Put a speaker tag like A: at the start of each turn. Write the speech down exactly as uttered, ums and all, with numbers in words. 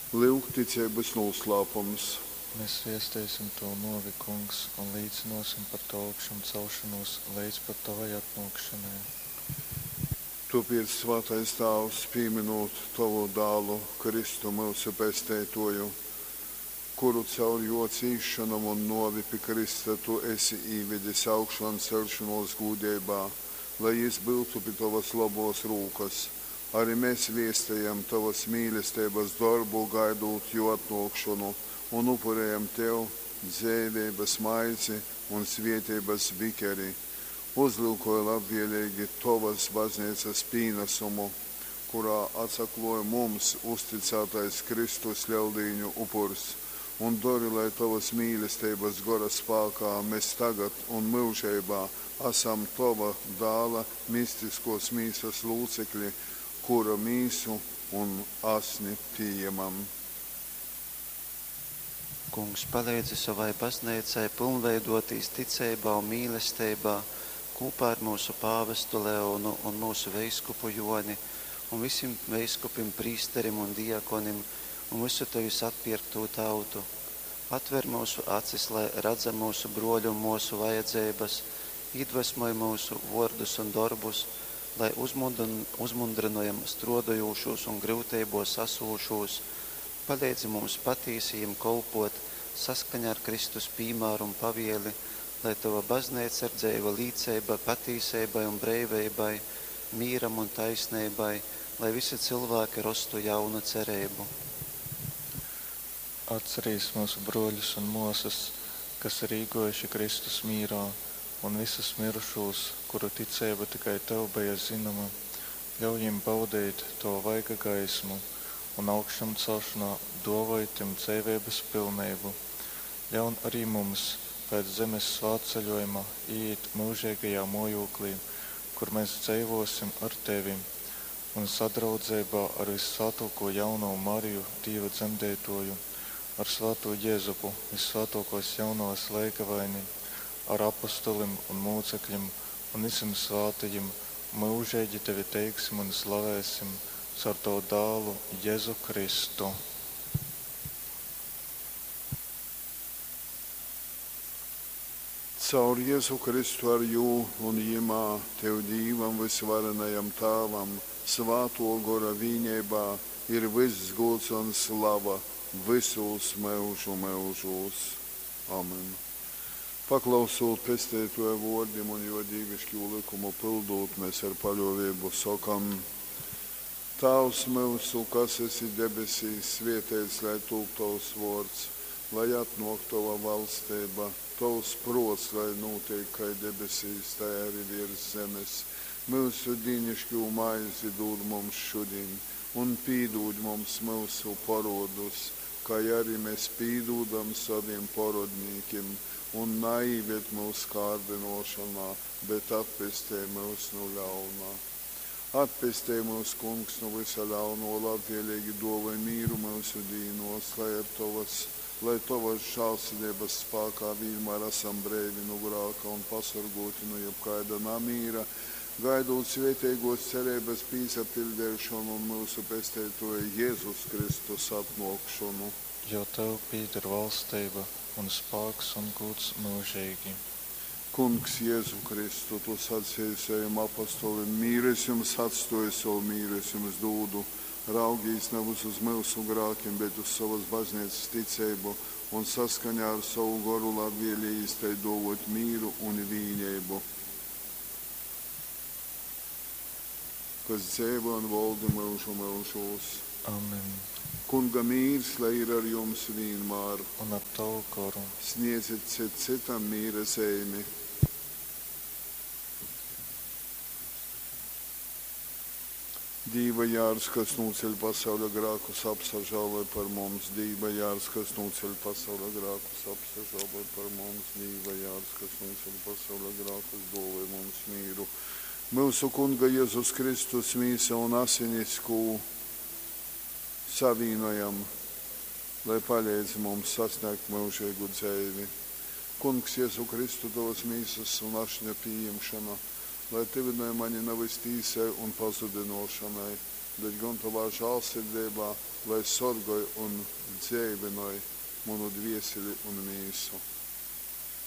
A: Lyuk ticeibas nūslāpums.
B: Mes viesteisim Tovu nōvi, Kungs, un līcynōsim par Tovu augšamceļšonūs leidz pat Tovai atnōkšonai.
A: Tōpēc, svātais Tāvs, pīmynūt tovu Dālu, Kristu, myusu Pesteitōju, kuru caur jō cīsšonom un nōvi pi krysta tu esi īvedis augšanceļšonōs gūdeibā, lai jys byutu pi tovas lobōs rūkas, ari mes viestejam tovas mīlesteibas dorbu, gaidūt jō atnōkšonu, un upurejam tev dzeiveibas maizi un svēteibas bikeri. Uzlyukoj labvēleigi tovas bazneicas pīnasumu, kurā atsaklōj mums uztycātais Kristus Leldīņu upurs, un dori, lai tovas mīlesteibas Gora spākā mes tagad un myužeibā asam tova Dāla mistiskōs mīsas lūcekli, kura mīsu un asni pījemam.
C: Kungs, paleidzi sovai Bazneicai pylnveidōtīs ticeibā un mīlesteibā kūpā ar myusu pāvestu Leonu un myusu veiskupu Jōni un visim veiskupim, prīsterim un diakonim un vysu tevis atpierktū tautu. Atver myusu acis, lai radzam myusu brōļu un mōsu vajadzeibas, īdvesmoj myusu vōrdus un dorbus, lai uzmundrynojam strōdojūšūs un gryuteibōs asūšūs, paleidzi mums patīsi jim kolpōt, saskaņā ar Kristus pīmāru un pavieli, lai tova Bazneica ir dzeiva līceiba patīseibai un breiveibai, mīram un taisneibai, lai visi cilvēki rostu jaunu cereibu.
B: Atcerīs myusu brōļus un mōsas, kas ir īgōjuši Kristus mīrā, un vysus myrušūs, kuru ticeiba tikai tev beja zynoma. Ļauj jim baudeit tova vaiga gaismu un augšamcelšanā dōvoj tim dzeiveibas pilneibu. Ļaun arī mums pēc zemes svātceļojuma iet myužeigajā mōjoklī, kur mēs dzeivōsim ar tevi un sadraudzeibā ar vyssvātōko jaunovu Mariju, Dīva dzemdeitōju, ar svātū Jezupu, vyssvātōkōs jaunovas leigavaini, ar apostolim un mūcekļim un visim svātajim myužeigi tevi teiksim un slavēsim caur tavu dālu Jezu Kristu.
A: Caur Jezu Kristu ar jū un jymā, tev Dīvam vysvarenajam Tāvam, Svātō Gora vīneibā ir vyss gūds un slava vysūs myužu myužūs. Amen. Paklausūt Pesteitōja vōrdim un jō dīviškū lykumu pyldūt, mes ar paļōveibu sokam, Tāvs myusu, kas esi debesīs, svēteits lai tūp tovs vōrds, lai atnōk tova valsteiba, tovs prōts lai nūteik kai debesīs, tai ari viers zemes. Myusu dīniškū maizi dūd mums šudiņ, un pīdūd mums myusu porōdus, kai ari mes pīdūdam sovim porōdnīkim, un naīved myus kārdynōšonā, bet atpestej myus nu ļauna. Atpestej myus, Kungs, nu vysa ļaunō, labvēlīgi dōvoj mīru myusu dīnōs, lai ar tovas, lai tovas žālsirdeibas spākā vīnmār asam breivi nu grāka un pasorgōti nu jebkaida namīra, gaidūt svēteigōs cereibas pīsapiļdeišonu un myusu Pesteitōja Jezus Kristus atnōkšonu.
B: Jo tev pīder valsteiba un spāks un gūds myužeigi.
A: Kungs Jezu Kristu, tu saceji sovim apostolim, Mīru es jums atstōju, sovu mīru es jums dūdu. Raugīs navys uz myusu grākim, bet uz sovas bazneicas ticeibu, un saskaņā ar sovu goru labvēlejīs tai dōvōt mīru un vīneibu. Kas dzeivoj un voldi myužu myužūs.
B: Amen.
A: Kunga mīrs, lai ir ar jums vīnmār.
B: Un ar tavu goru.
A: Sniedzit cit cytam mīra zeimi. Dīva jārs, kas nūceļ pasauļa grākus, apsažāloj par mums. Dīva jārs, kas nūceļ pasauļa grākus, apsažāloj par mums. Dīva jārs, kas nūceļ pasauļa grākus, dōvoj mums mīru. Myusu Kunga Jezus Kristus mīsa un asinis, kū savīnojam, lai paleidz mums sasniegt myužeigu dzeivi. Kungs Jezu Kristu, tovas mīsas un ašņa pījimšona, lai tyvynoj mani navys tīsai un pazudynōšonai, bet gon tovā žālsirdeibā lai sorgoj un dzeivynoj munu dvieseli un mīsu.